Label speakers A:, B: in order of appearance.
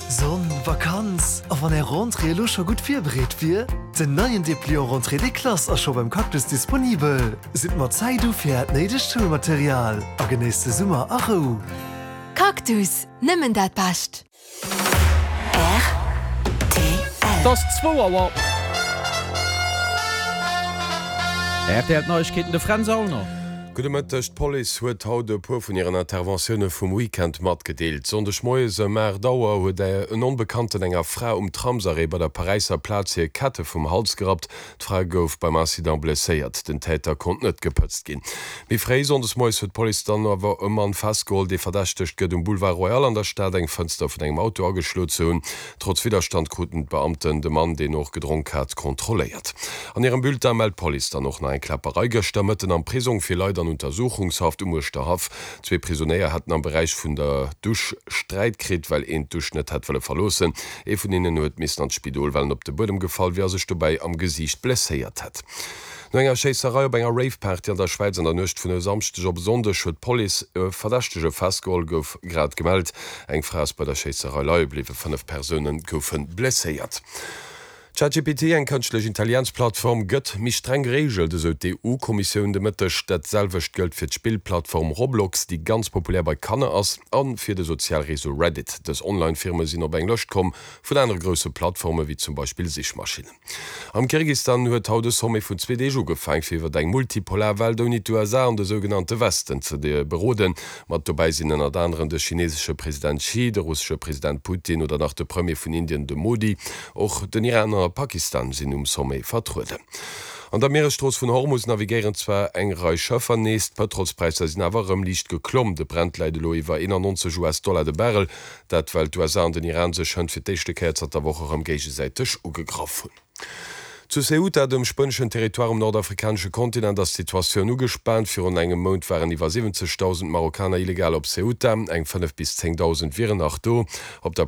A: Sonn, Vakanz, a wann är Rentrée elo scho gutt virbereet wier? Den neien Depliant Rentrée des Classes ass scho beim Cactus disponibel. Sidd mat Zäit u fir äert néidegt Schoulmaterial a genéisst de Summer a Rou.
B: Cactus, nëmmen dat Bescht!
C: Et ass zwou Auer. RTL Neiegkeeten, de Fränz Aulner.
D: Gudde Mëtteg. D'Police huet haut e puer vun hiren Interventioune vum Weekend matgedeelt. Sonndeg moies ëm 8 Auer huet en Onbekannten enger Fra um Tramsarrêt bei der Paräisser Plaz hir Kette vum Hals gerappt. D'Fra gouf beim Incident blesséiert. Den Täter konnt net gepëtzt ginn. Méi fréi sonndes moies huet d'Police dann awer e Mann festgeholl, dee verdächtegt gëtt, um Boulevard Royal an der Stad eng Fënster vun engem Auto ageschloe ze hunn. Trotz Widderstand kruten d'Beamten de Mann, deen och gedronk hat, kontrolléiert. An hirem Bulletin mellt d'Police dann och nach eng Kläpperei gëschter Mëtten am Prisong fir Leit an Untersuchungshaft um Uerschterhaff. Zwee Prisonéier hätten am Beräich vun der Dusch Sträit kritt, well een d'Dusch net hätt wëlle verloossen. Ee vun hinnen huet missen an d'Spidol, well en op de Buedem gefall wier a sech dobäi am Gesiicht blesséiert hätt. No enger Schéisserei op enger Rave-Party an der Schwäiz an der Nuecht vun e Samschdeg op e Sonndeg huet d'Police e Verdächtege festgeholl, gouf grad gemellt. Eng Fra ass bei der Schéisserei leie bliwwen, 5 Persoune goufe blesséiert. ChatGPT, eng kënschtlech Intelligenz-Plattform, gëtt méi streng gereegelt, esou d'EU-Kommissioun de Mëtteg. Dat selwecht gëllt fir d'Spillplattform Roblox, déi ganz populär bei Kanner ass, a fir de Sozialreseau Reddit. Dës Online-Firme sinn op eng Lëscht komm vun anere grousse Plattforme wéi zum Beispill Sichmaschinnen. Am Kirgistan huet haut e Sommet vun zwee Deeg ugefaang, fir iwwer eng multipolar Welt ouni d'USA an de sougenannte Westen ze beroden. Mat dobäi sinn ënnert aneren de chinesesche President Xi, de russesche President Putin oder nach de Premier vun Indien, de Modi. Och den Iran an Pakistan sinn um Sommet vertrueden. An der Mieresstrooss vun Hormus navigéieren zwar eng Rei Schëffer nees, d'Pëtrolspräisser sinn awer erëm liicht geklomm. De Brent läit elo iwwer 91 US-Dollar de Barrel. Dat well d'USA an den Iran sech hënt fir d'éischte Kéier zanter Woche rëm géigesäiteg ugegraff hunn. Zu Ceuta, dem spueneschen Territoire um nordafrikanesche Kontinent, ass d'Situatioun ugespaant. Virun engem Mount waren iwwer 70.000 Marokkaner illegal op Ceuta, eng 5 bis 10.000 wieren nach do. Op der.